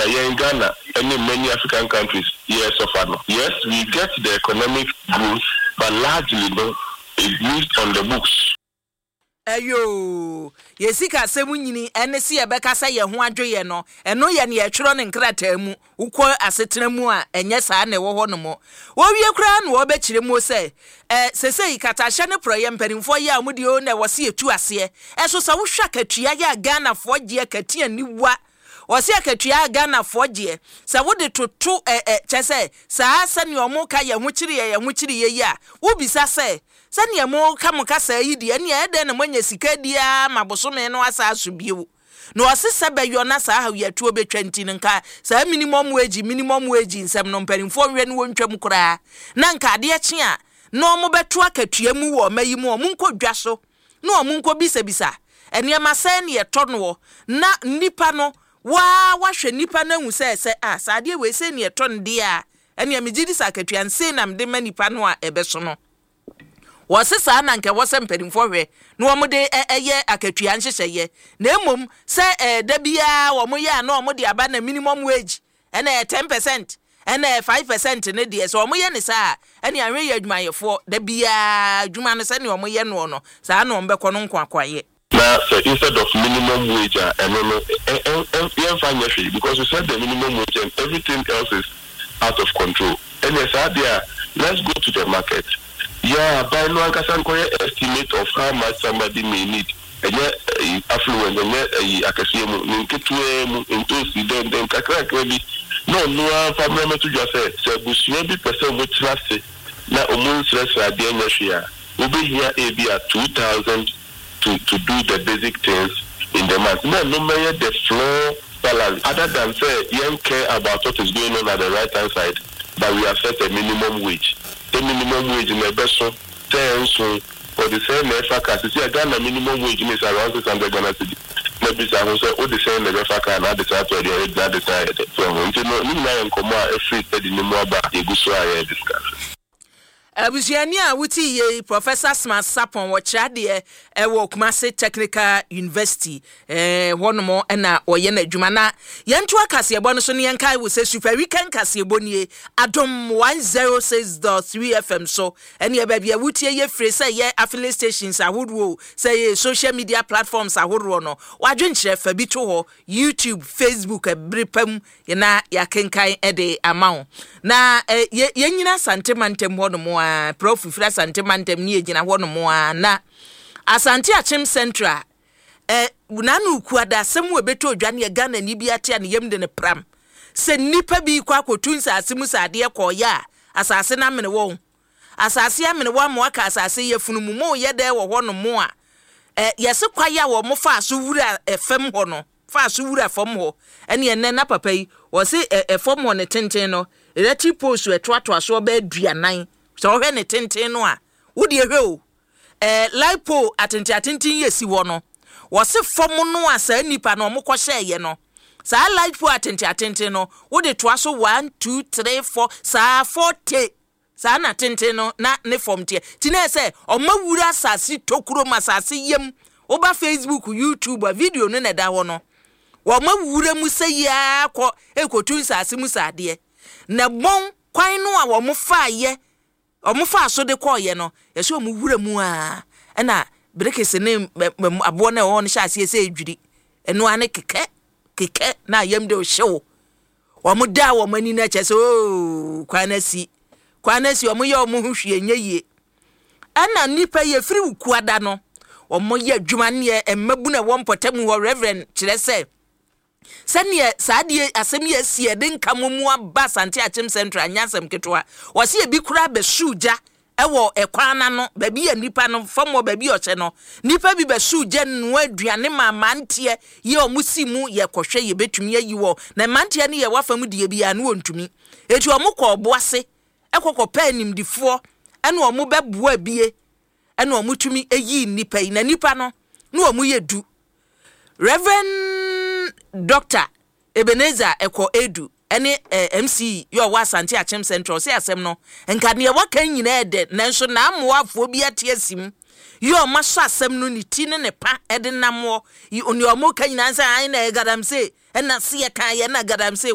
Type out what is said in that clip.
yɛn Ghana ne many African countries yɛ suffer no. Yes, we get the economic growth, but largely no, it lives on the books. Ɛyoo, yɛn sikasɛm nyini ɛne se yɛbɛka sɛ yɛn ho adwo yɛn no, ɛno yɛ nea yɛtwerɛ no nkrataa mu. Wokɔ asetena mu a, ɛnyɛ saa na ɛwɔ hɔ nom. Wɔwie koraa na wɔbɛkyerɛ mu sɛ, ɛ, sesei katahyɛ ne porɔeɛ mpanimfoɔ yɛ a wɔn deɛ oo na ɛwɔ se yɛtu aseɛ. Ɛso sɛ wohwɛ akatua yɛ a Ghanafoɔ gye akatua aniwa. Wɔse akatua a Ghanafoɔ gyeɛ, sɛ wode toto ɛ, ɛ, kyerɛ sɛ saa sɛdeɛ wɔka yɛn ho kyere yɛn, yɛn ho kyere yɛn yi a, wobisa sɛ, Sɛdeɛ moreka mo kasaa yi deɛ, ɛnneɛ ɛyɛ dɛn na moanya sika adi ara ma bosome no asan aso bio? Na ɔse sɛ bɛyɔ na saa hawyatuo bɛtwa nti no, nka saa minimum wage, minimum wage nsɛm no, mpanimfoɔ nhwɛ na wɔntwam koraa. Na nka adeɛ kye a, na wɔbɛto akatua mu wɔ ɔma yi mu, wɔnkɔ dwa so na wɔnkɔbisabisa nneɛma sɛn na yɛtɔ noɔ, na nnipa no, wo ara woahwɛ nnipa no ahu sɛ, sɛ ah, saa adeɛ wei sei na yɛtɔ no deɛ a, ɛnneɛ megye di sɛ akatua no sei na mede ma nnipa no a ɛbɛso no. Wɔse saa na anka ɛwɔ sɛ mpanimfoɔ hwɛ na wɔde yɛ akatua nhyehyɛeɛ, na mmom sɛ da biara wɔyɛ a na wɔde aba na minimum wage ɛna ɛyɛ 10% ɛna ɛyɛ 5% no deɛ, sɛ wɔyɛ no saa a, ɛne ahwɛ yɛ adwumayɛfoɔ da biara adwuma no sɛdeɛ wɔyɛ noɔ no, saa na wɔbɛkɔ no nkoakoayɛ. Na sɛ instead of minimum wage a ɛno no yɛnfa nyɛ hwee because we set the minimum wage and everything else is out of control ɛneɛ saa deɛ a let's go to the market yɛ aban no ankasa nkɔyɛ estimate of how much somebody may need ɛnyɛ ɛyi affluent ɛnyɛ ɛyi akɛseɛ mu ne nketewaa mu ntoosi dɛn dɛn kakrakra bi na ɔno ara mfa mmra mmɛto dwa sɛ sɛ abusua bi pɛ sɛ wɔtena ase na wɔn nsrɛsrɛ adeɛ nyɛ hwee a wobɛhia ebia 2000 to to do the basic things in the month na ɛno mmɛyɛ the floor salary other than sɛ yɛn care about what is going on at the right hand side, but we have set a minimum wage sɛ minimum wage no ɛbɛso sɛ ɛnso wɔde sɛn na ɛfa car. Sisi a Ghana minimum wage no is around 600 Ghana cedi na bisa ho sɛ wode sɛn na ɛbɛfa car na ade san atɔ aduane adi na ade san ayɛ dɛ so ho. Nti no ne nyinaa yɛ nkɔmmɔ a ɛfiri study no mu aba a yɛgu so a yɛre discuss. Abusuani a wote yie yi, Professor Smart Sarpong, ɔkyerɛ adeɛ wɔ Kumasi Technical University. Hɔnom na ɔyɛ n'adwuma. Na yɛntoa kaseɛbɔ no so na yɛnkae wo sɛ Super Weekend kaseɛbɔ nie, Adom 106.3 FM so. Ɛneɛ baabi a wotie yɛ fire, sɛ ɛyɛ affiliate stations ahodoɔ o, sɛ ɛyɛ social media platforms ahodoɔ no, w'adwenkyerɛ fa bi to hɔ, YouTube, Facebook, ɛbere pa mu na yɛakenkan de ama wo. Na yɛ yɛnyina Asante mantam hɔnom a, Prof firi Asante mantam ne yɛgyina hɔnom a, na Asante Akyem Central ɛ n'ano kuada asɛm a ɛbɛtɔ odwa ne Ghana ni bi ate a ne yam de no pram sɛ nnipa bi kɔ akɔtu nsase mu sɛ adeɛ kɔɔyɛ a asase no amene wɔn. Asase amene wɔn ama wɔaka asase yafunu mu. Moyɛ dɛn wɔ hɔnom a ɛ yɛse kwae a wɔn faa so wura fam hɔ no faa so wura fam hɔ ɛne ɛnnɛ na papa yi wɔse ɛ ɛfam hɔ ne tenten no electric post ɛtoatoa soɔ bɛyɛ 40 sɛ wɔhwɛ ne tenten no a wodeɛ hwɛ o ɛ light pole atenten atenten yi esi hɔ no wɔse fam no a saa nipa no wɔn kɔhyɛɛyɛ no saa light pole atenten atenten no wode toa so 1 2 3 4 saa 40. Saa na tenten no na ne fam teɛ. Nti na ɛyɛ sɛ ɔma wura asase tokuro mu, asase yam. Woba Facebook, YouTube a, video no na ɛda hɔ no. Wɔma wura mu sɛ yi ara kɔ rekɔtu nsase mu sɛ adeɛ. Na bɔn kwan no a wɔfaeɛ, wɔfaa so de kɔeɛ no, yɛsɛ wɔn wura mu ara ɛna berekese ne aboɔ no a ɛwɔ hɔ no hyɛ aseɛ sɛ ɛredwiri. Ɛno ara ne kekɛ, kekɛ na ayam de hyew. Wɔn daa wɔn ani no kyerɛ sɛ oo kwan no asi, kwan no asi, wɔn yɛ wɔn ho hwee nyɛ yie. Ɛna nnipa yi efiri Wukuada no, wɔn yɛ adwuma neɛ mmabunu a ɛwɔ mpɔtam hɔ Reverend kyerɛ sɛ sɛdeɛ saa adeɛ asɛm yi asi ɛde nka mo mu aba Asante Akyem Central nyɛ asɛm ketewa. Wɔsi ebi koraa bɛsuu gya Wɔ ɛkwan no ano, baabi a nnipa no, fam hɔ baabi a ɔhyɛ no, nnipa bi bɛsoo gya noa aduane maa mmeranteɛ yi a wɔsi mu yɛkɔhwɛ yɛbɛtumi ayi wɔn. Na mmeranteɛ no yɛ w'afa mu deɛ biara no wɔntumi. Enti wɔkɔɔ ɔbo ase kɔ kɔpɛɛ animdefoɔ ɛna wɔn bɛboa bie ɛna wɔtumi yii nnipa yi. Na nnipa no, na wɔn yɛ du. Reverend Doctor Ebenezer Ɛkɔ Edu ne MC yi a ɔwɔ Asante Akyem Central ɔse asɛm no nka deɛ waka nyinaa ɛdɛ nanso n'amoafoɔ bi ate asim yi a ɔma sɔ asɛm no ne ti ne ne pa de namoɔ yi nea ɔmo ka nyinaa sɛ ae na ɛyɛ galamsey ɛna se yɛ kan yɛ na galamsey.